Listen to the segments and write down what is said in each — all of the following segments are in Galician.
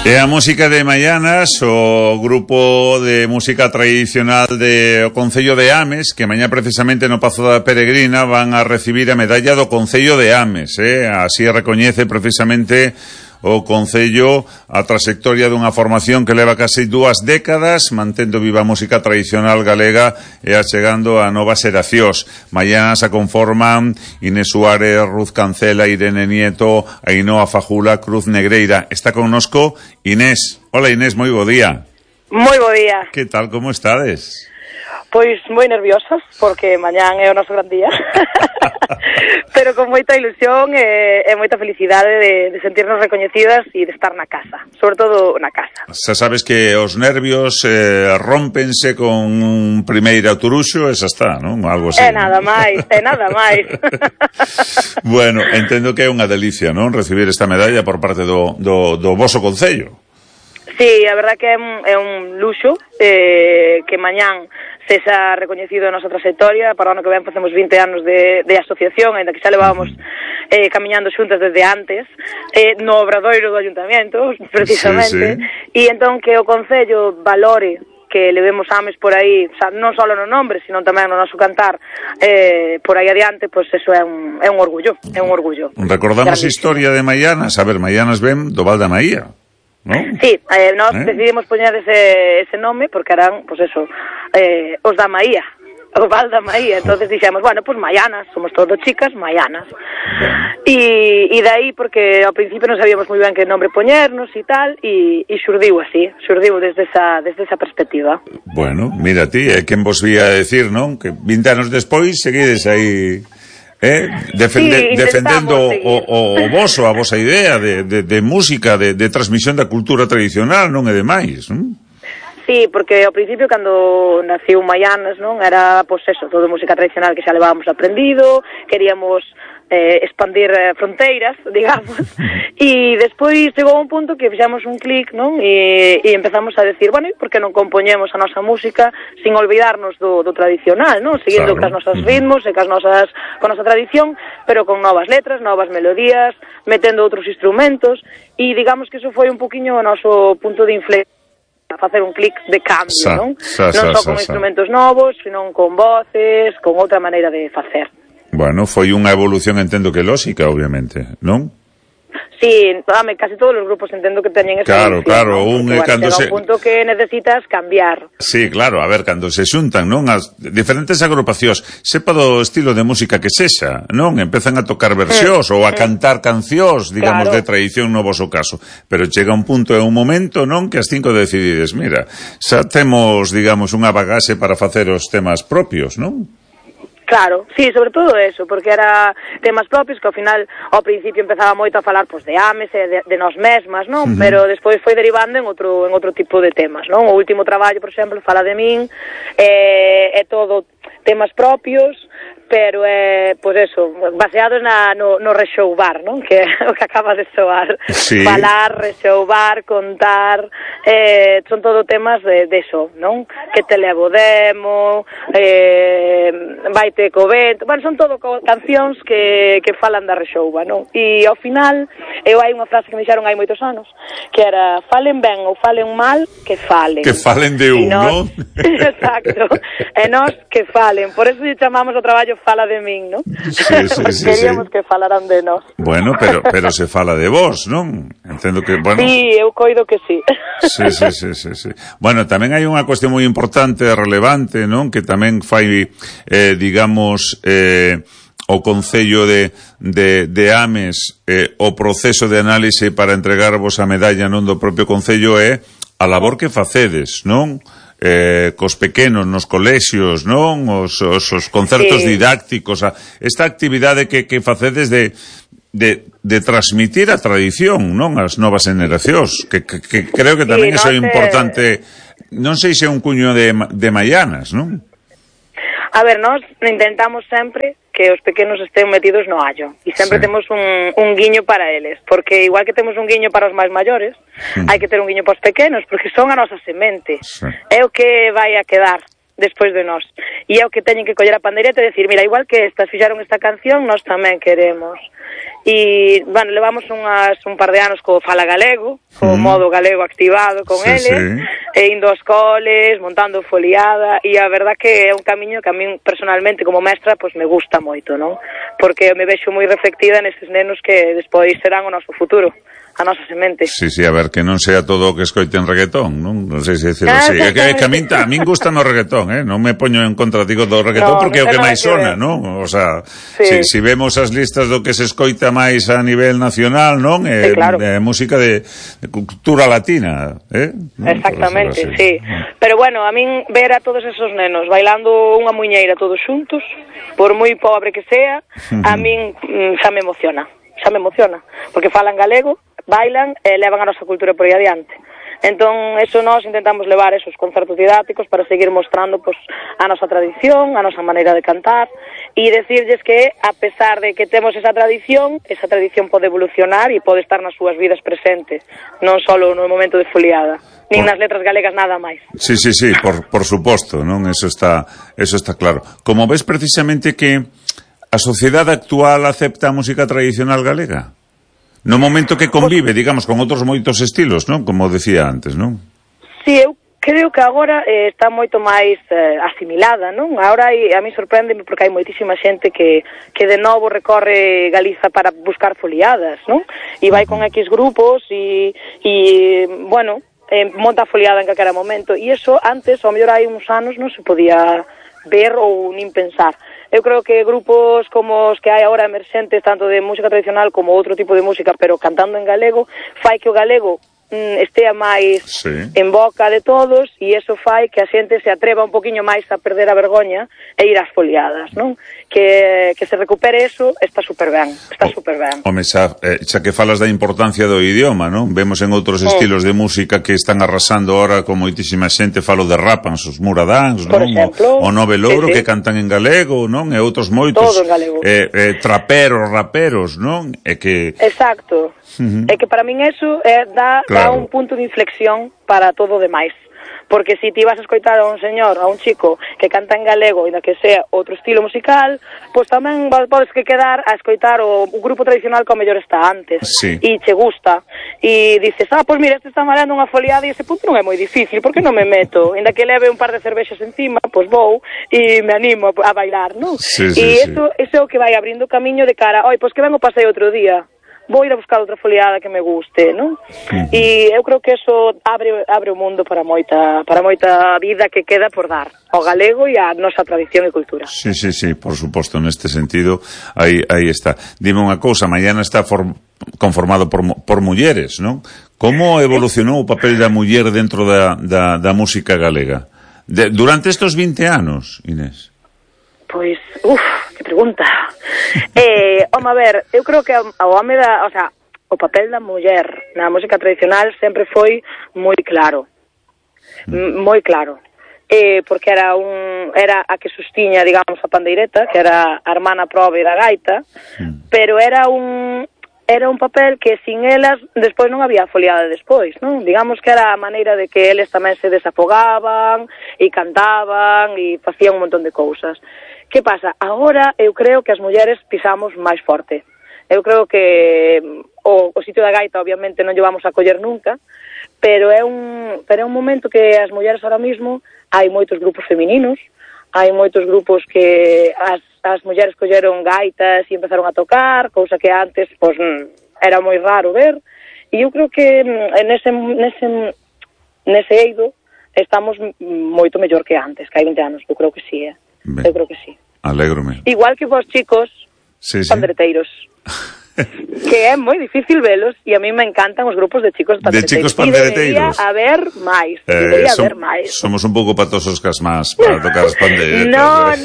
E a música de Maianas, o grupo de música tradicional de o Concello de Ames, que mañá precisamente no Pazo da Peregrina van a recibir a medalla do Concello de Ames, así recoñece precisamente o Concello a trayectoria dunha formación que leva casi 2 décadas mantendo viva a música tradicional galega e achegando a novas xeracións. Mañá se conforman Inés Suárez, Ruth Cancela, Irene Nieto, Ainhoa Fajula, Cruz Negreira. Está connosco Inés. Hola Inés, moi bo día. Moi bo día. Que tal, como estades? Pois moi nerviosas, porque mañán é o noso gran día. Pero con moita ilusión e moita felicidade de sentirnos recoñecidas e de estar na casa, sobre todo na casa. Xa sabes que os nervios rómpense con un primeiro turuxo e xa está, non? Algo así. É nada máis, é nada máis. Bueno, entendo que é unha delicia, non? Recibir esta medalla por parte do voso concello. Sí, a verdad que é un luxo que mañán sexa recoñecido a nosa trayectoria. Para o ano que ven facemos 20 anos de asociación, ainda que xa levábamos camiñando xuntas desde antes, no obradoiro do Ayuntamiento, precisamente, e entón que o Concello valore que levemos Ames por aí, o sea, non só no nombre, sino tamén no noso cantar por aí adiante, pois eso é un orgullo, é un orgullo. Recordamos a historia de Maianas. A ver, Maianas ven do Val da Maía, ¿no? Sí, nós decidimos poñer ese nome porque eran, pois eso, os da Maía, o Val da Maía. Entonces dixemos, bueno, pois Maianas, somos todos chicas, Maianas. E dai porque ao principio non sabíamos moi ben que nombre poñernos e tal, e xurdiu así, xurdiu desde esa perspectiva. Bueno, mira ti, é quen vos vía a decir, non? Que 20 anos despois seguides aí defendendo o voso, a vosa idea de música, de transmisión da cultura tradicional, non é demais, non? Sí, porque ao principio cando naciu Maianas, non, era, pois eso, todo música tradicional que xa levábamos aprendido, queríamos expandir fronteiras, digamos, e despois chegou un punto que fixamos un clic, non, e empezamos a decir, bueno, e por que non compoñemos a nosa música sin olvidarnos do tradicional, non, seguindo cas nosas ritmos e con nosa tradición, pero con novas letras, novas melodías, metendo outros instrumentos, e digamos que iso foi un poquinho o noso punto de inflexión, a facer un clic de cambio, non? Non só con instrumentos novos, sino con voces, con outra maneira de facer. Bueno, foi unha evolución, entendo que lógica, obviamente, non? Sí, casi todos os grupos entendo que teñen esa evolución. Claro, cando chega un punto que necesitas cambiar. Sí, claro, a ver, cando se xuntan, non, as diferentes agrupacións, sepa do estilo de música que sexa, non? Empezan a tocar versións ou a cantar cancións, digamos, de tradición no voso caso, pero chega un punto e un momento, non, que as 5 decidides, mira, xa temos, digamos, unha bagaxe para facer os temas propios, non? Claro, sí, sobre todo eso, porque era temas propios que ao final, ao principio empezaba moito a falar pois de Ames e de nós mesmas, non? Pero despois foi derivando en outro tipo de temas, non? O último traballo, por exemplo, Fala de min, é todo temas propios, pero pois eso, baseados no rexoubar, non? Que é o que acaba de soar. Sí. Falar, rexoubar, contar, son todo temas de eso, non? Que te levo demo, vaite co vento, bueno, son todo cancións que falan da rexouba, non? E ao final, hai unha frase que me dixeron hai moitos anos, que era, falen ben ou falen mal, que falen. Que falen de un, non? Exacto, e nós que falen, por eso chamamos o traballo Fala de min, non? Sí. Queríamos que falaran de nós. Bueno, pero se fala de vos, non? Entendo que, bueno... Sí, eu coido que sí. Sí. Bueno, tamén hai unha cuestión moi importante e relevante, non? Que tamén fai, digamos, o Concello de Ames, o proceso de análise para entregarvos a medalla, non, do propio Concello é a labor que facedes, non? Cos pequenos nos colexios, non? Os concertos didácticos, esta actividade que facedes de transmitir a tradición, non? As novas generacións, que creo que tamén iso é importante, non sei se é un cuño de Maianas, non? A ver, nós intentamos sempre que os pequenos estén metidos no allo e sempre temos un guiño para eles, porque igual que temos un guiño para os máis maiores, hai que ter un guiño para os pequenos, porque son a nosa semente, é o que vai a quedar despois de nós. E é o que teñen que coller a pandeireta e decir, mira, igual que estas fixaron esta canción, nós tamén queremos. E, bueno, levamos un par de anos co Fala Galego, co modo galego activado con eles, e indo aos coles, montando foliada, e a verdad que é un camiño que a min personalmente como mestra pois me gusta moito, non? Porque me vexo moi reflectida neses nenos que despois serán o noso futuro, a nosa semente. Sí, a ver, que non sea todo o que escoiten reggaetón, non? Non sei se decirlo así. É que a min gusta no reggaetón, non me poño en contra, digo, do reggaetón porque é o que máis sona, non? O sea, si vemos as listas do que se escoita máis a nivel nacional, non? É música de cultura latina, Exactamente, sí. Pero bueno, a min ver a todos esos nenos bailando unha muiñeira todos xuntos, por moi pobre que sea, a min xa me emociona, porque falan galego, bailan e levan a nosa cultura por aí adiante. Entón, eso nós intentamos levar esos concertos didácticos para seguir mostrando pues, a nosa tradición, a nosa maneira de cantar e decirlles que, a pesar de que temos esa tradición pode evolucionar e pode estar nas súas vidas presentes, non só no momento de foliada, nin nas letras galegas nada máis. Sí, por suposto, non? Eso está claro. Como ves precisamente que a sociedade actual acepta a música tradicional galega? No momento que convive, digamos, con outros moitos estilos, non? Como decía antes, non? Sí, eu creo que agora está moito máis asimilada, non? Agora a mí sorpréndeme porque hai moitísima xente que de novo recorre Galiza para buscar foliadas, non? E vai con X grupos e bueno, monta foliada en calquera momento. E iso antes, ao mellor hai uns anos, non se podía ver ou nin pensar. Eu creo que grupos como os que hai agora emerxentes, tanto de música tradicional como outro tipo de música, pero cantando en galego, fai que o galego estea máis en boca de todos e eso fai que a xente se atreva un poquinho máis a perder a vergoña e ir ás foliadas, non? Que se recupere eso está super ben. Home, xa que falas da importancia do idioma, non? Vemos en outros estilos de música que están arrasando ahora con moitísima xente, falo de Rapans, os Muradáns, non? O Nove Louro, que cantan en galego, non? E outros moitos. Todo en galego. Traperos, raperos, non? Exacto. É que para min eso dá un punto de inflexión para todo o demais. Porque se ti vas a escoitar a un señor, a un chico que canta en galego e da que sea outro estilo musical, pois tamén podes que quedar a escoitar o grupo tradicional que ao mellor está antes e che gusta e dices, pois mira, este está malando unha foliada e ese punto non é moi difícil, por que non me meto? Ainda que leve un par de cervexas encima, pois vou e me animo a bailar, non? Eso é o que vai abrindo camiño de cara, pois que vengo pasei outro día, vou ir a buscar outra foliada que me guste, non? E eu creo que eso abre o mundo para moita vida que queda por dar ao galego e a nosa tradición e cultura. Sí, por suposto, neste sentido, aí está. Dime unha cousa, mañana está conformado por mulleres, non? Como evolucionou o papel da muller dentro da música galega? Durante estes 20 anos, Inés? Pois, que pregunta. Home, a ver, eu creo que o papel da muller na música tradicional sempre foi moi claro. Porque era a que sustiña, digamos, a pandeireta, que era a hermana probe da gaita, pero era un papel que sin elas despois non había foliada despois, non? Digamos que era a maneira de que eles tamén se desafogaban e cantaban e facían un montón de cousas. Que pasa? Agora eu creo que as mulleres pisamos máis forte. Eu creo que o sitio da gaita obviamente non lle vamos a coller nunca, pero é un momento que as mulleres ahora mismo hai moitos grupos femininos, hai moitos grupos que as mulleres colleron gaitas e empezaron a tocar, cousa que antes pois era moi raro ver, e eu creo que nese eido estamos moito mellor que antes, que hai 20 anos, eu creo que sí, eu creo que sí. Alégrome. Igual que vos chicos, pandereteiros. Que é moi difícil velos e a mí me encantan os grupos de chicos pandereteiros. Debería haber máis. Somos un pouco patosos cas más para tocar as pandeiretas.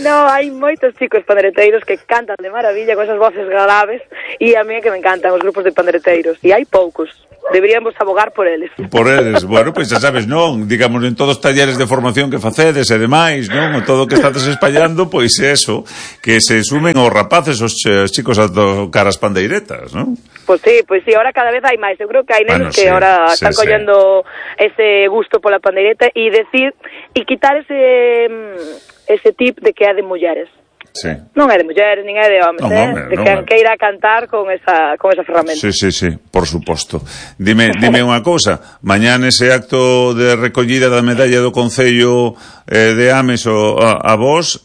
No, hai moitos chicos pandereteiros que cantan de maravilla con esas voces graves e a mí é que me encantan os grupos de pandereteiros e hai poucos. deberíamos abogar por eles. Por eles, bueno, pois xa sabes, non, digamos, en todos os talleres de formación que facedes e demais, non, o todo o que estades espallando, pois é eso, que se sumen os rapaces, os chicos a tocar as pandeiretas, non? Pois sí, ahora cada vez hai máis. Eu creo que hai nenos que ahora están collendo ese gusto pola pandeireta e quitar ese tip de que é de mulleres. Sí. Non é de mulleres, nin é de homes, de quen queira cantar con esa ferramenta. Sí, por suposto. Dime unha cousa, mañá nese acto de recollida da medalla do Concello de Ames a vos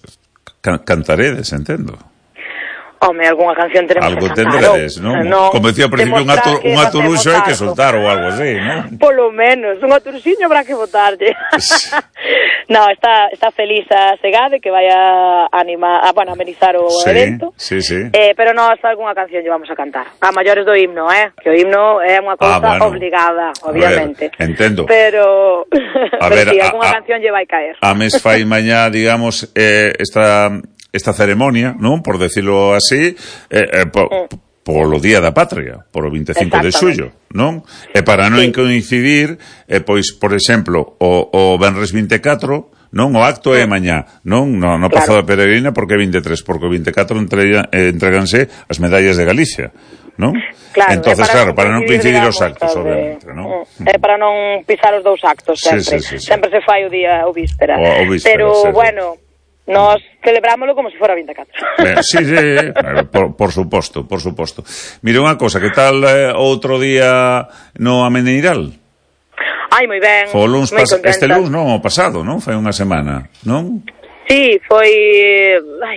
cantaredes, entendo. Home, algunha canción tenemos algo que cantar. Algo tendredes, non? Como decía ao principio, un aturuxo hai que soltar ou algo así, non? Polo menos, un aturuxiño habrá que botarlle. No, está feliz a Segade que vai a amenizar o evento. Sí. Pero nós algunha canción llevamos a cantar. A maiores do himno, que o himno é unha cousa obligada, obviamente. Ver, entendo. Pero sí, algunha canción lle vai caer. A mes fai mañá, digamos, esta ceremonia, non? Por decirlo así, polo Día da Patria, por o 25 de xullo, non? E para non coincidir, pois, por exemplo, o Venres 24, non? O acto é mañá, non? No Pazo da Peregrina, porque é 23, porque o 24 entreganse as medallas de Galicia, non? Claro, entonces, para non coincidir os actos, obviamente, non? É para non pisar os dous actos, sempre. Sempre se fai o día o víspera. Pero, bueno, nos celebrámoslo como se fora 24. Sí, por suposto. Mira unha cosa, que tal outro día no Ameneiral? Ai, moi ben, moi contenta. Este luns, non, o pasado, non? Foi unha semana, non? Sí, foi...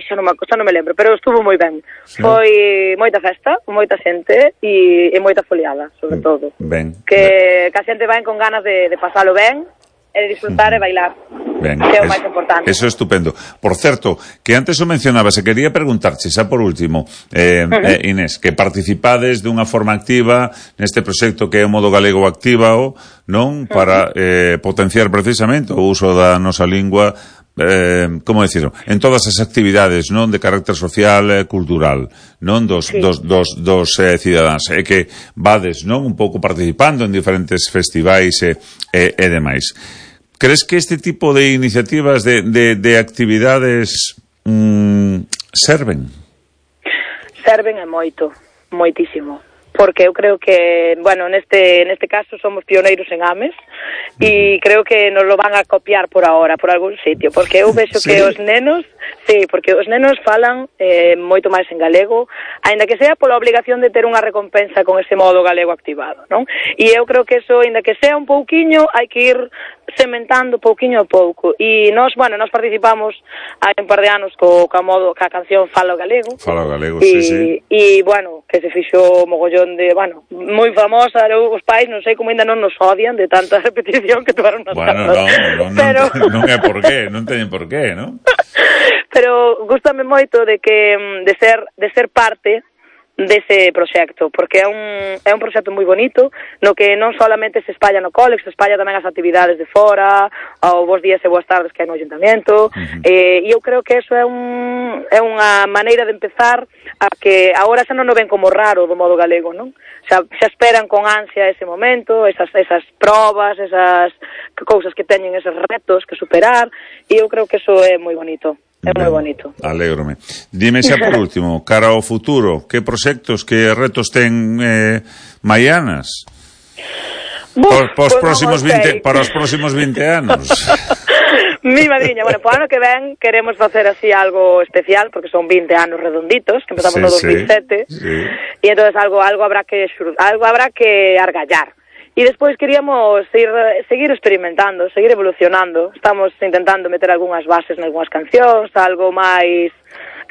xa non me lembro, pero estuvo moi ben. Sí. Foi moita festa, moita xente e moita foliada, sobre todo. Ben. Que a xente vai con ganas de pasalo ben, e de disfrutar e bailar. Ben, que é o máis importante. Eso é estupendo. Por certo, que antes o mencionaba, se quería preguntarche, xa por último, Inés, que participades dunha forma activa neste proxecto que é o Modo Galego Actívao, non? Para potenciar precisamente o uso da nosa lingua, como decirlo, en todas as actividades, non, de carácter social e cultural, non, dos cidadáns, e que vades, non, un pouco participando en diferentes festivais e demais. Crees que este tipo de iniciativas de actividades serven? Serven e moitísimo. Porque eu creo que, bueno, neste caso somos pioneiros en Ames e creo que nos lo van a copiar por ahora, por algún sitio, porque eu vexo que os nenos, porque os nenos falan moito máis en galego, aínda que sea pola obligación de ter unha recompensa con ese modo galego activado, non? E eu creo que eso, aínda que sea un pouquiño, hai que ir sementando pouquiño a pouco. E nós participamos hai un par de anos ca canción Falo Galego. Falo Galego, sí. E, bueno, que se fixo mogollón de, bueno, moi famosa, os pais non sei como ainda non nos odian de tanta repetición que tomaron nas casas. Non é por qué, non teñen por qué, non? Pero gústame moito de ser parte dese proxecto, porque é un proxecto moi bonito, no que non solamente se espalla no cole, se espalla tamén as actividades de fora, ao bos días e boas tardes que hai no Ayuntamiento, e eu creo que eso é unha maneira de empezar a que agora xa non o ven como raro do modo galego, non? Xa esperan con ansia ese momento, esas probas, esas cousas que teñen, esos retos que superar, e eu creo que eso é moi bonito. É moi bonito. Alégrome. Dime xa por último, cara ao futuro, que proxectos, que retos ten Maianas? Para os próximos 20 anos. Mi madriña, bueno, po ano que ven queremos facer así algo especial, porque son 20 anos redonditos, que empezamos no 2007, e entonces algo habrá que argallar. E despois queríamos seguir experimentando, seguir evolucionando. Estamos intentando meter algunhas bases en algunhas cancións, algo máis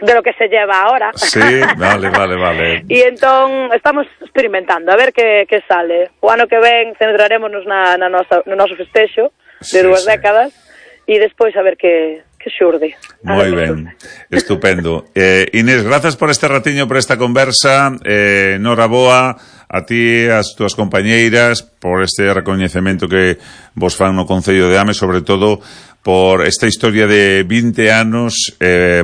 de lo que se lleva ahora. Sí, vale. E entón estamos experimentando, a ver que sale. O ano que ven centrarémonos no noso festexo de 2 décadas e despois a ver que xurde. Moi ben, estupendo. Inés, grazas por este ratiño, por esta conversa. Noraboa a ti, as túas compañeiras, por este recoñecemento que vos fan no Concello de Ames, sobre todo por esta historia de 20 anos,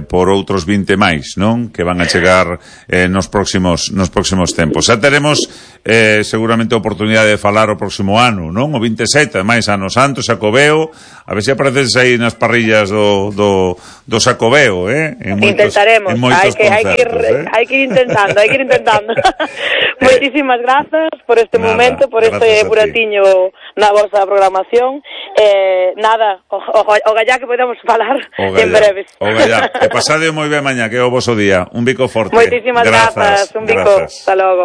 por outros 20 máis, non? Que van a chegar nos próximos tempos. Xa teremos seguramente a oportunidade de falar o próximo ano, non? O 27, máis ano santo, Xacobeo, a ver se apareces aí nas parrillas do Xacobeo, Intentaremos, hai que ir intentando. Moitísimas grazas por este momento, por este buratiño na vosa programación. O gallá que podemos falar en breves. O gallá. E pasade moi ben mañá, que é o voso día. Un bico forte. Moitísimas grazas. Un bico. Hasta logo.